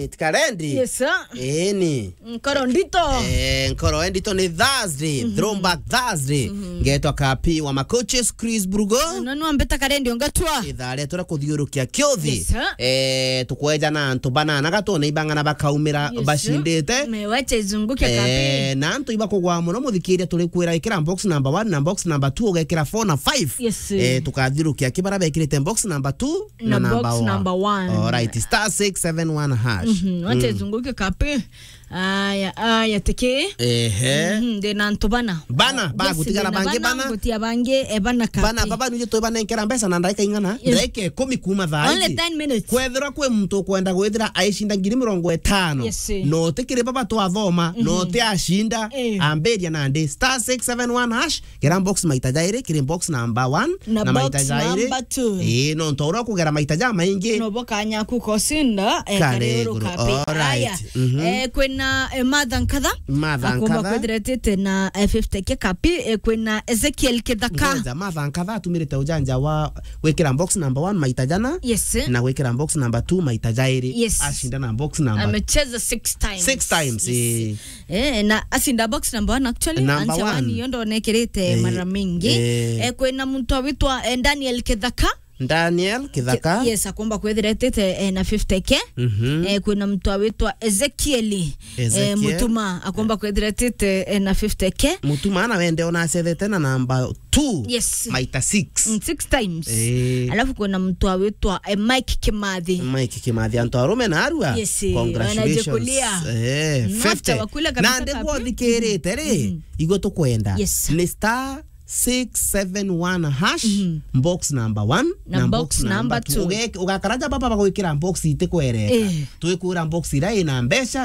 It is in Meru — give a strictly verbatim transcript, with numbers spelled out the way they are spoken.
Karendi. Yes, sir. Eni. Nkoro ndito. Eh, nkoro ndito ni Thursday, throwback Thursday. Ngetwa Kapi wa Macoaches, Chris Brugo. No, no, mbeta Karendi ongatwa. Ithaa rietu ria kuthiurukia kiuthi. Yes, sir. Eh, tukweja na antu banana gatone ibang'ana bakaumira bacindite. Me wacha izunguke Kapi. Eh, na antu ibakugwa muno muthikiria turi kwira ikira box number one na box number two ugekira four na five. Yes, sir. Eh, tukathiurukia kibara bekirite box number two na number one. Alright, star six seven one hash. Mhm, wacha izunguke Kapi. Aya, aya, tiki. Ehe. Mhm, ndina antu bana. Bana, ba gutigara bangi bana. Gutia bangi, e, bana Kapi. Bana, baba nuje twibanenkera mbeca na ndagika ing'ana? Yes. Ndagika ikumi kuma thaa ici. Only ten minutes. Kwethirwa kwi muntu ukwenda gwithira aicinda ngiri mirongo itano. Yes, sir. No tikiri baba twathoma, no ti acinda. Eh. Ambiria nandi star six seven one hash. Kira box maita jairi, kiri box number one na maita jairi. Ii, no ntu uria ukugera maita ja maingi. No bo kanya ku kosinda, eh, kare iguru Kapi. Alright. Aya, eh, kwina, eh, Martha Nkatha. Martha Nkatha. Akomba kwithiretite na, eh, fifty K Kapi, eh, kwina Ezekiel Kithaka. Ngoja, Martha Nkatha atumirite ujanja wa gwikira box number one maita jana. Yes. Na gwikira box number two maita jairi. Yes. Acinda na box number. Amecheza six times. Six times, yes. Eh, na acinda box number one actually. Number one. Yo ndonekirite mara mingi. Eh, kwina muntu awitwa, eh, Daniel Kithaka. Daniel Kithaka. Yes, akomba kwithira etite, eh, na fifty K. Mhm. Eh, kwina muntu awitwa Ezekiel, eh, Ezekiel. Mutuma, akomba kwithira etite, eh, na fifty K. Mutuma na wende ona acethete na namba two. Yes. Maita six. Mm, six times. Eh. Alafu kwina muntu awitwa, eh, Mike Kimathi. Mike Kimathi, antu arume na arua. Yes, eh, congratulations. Wanajikulia. Eh, mm, fifty. After wakula kabisa. Na ndi kapi. Bwothikirite ri, mm, igwe tukwenda. Yes. Ni star six seven one hash, mhm, box number one na box number two. Uge-, ugakara ja baba bagwikira box itikwereka. Eh. Twikwira box iria ina mbeca.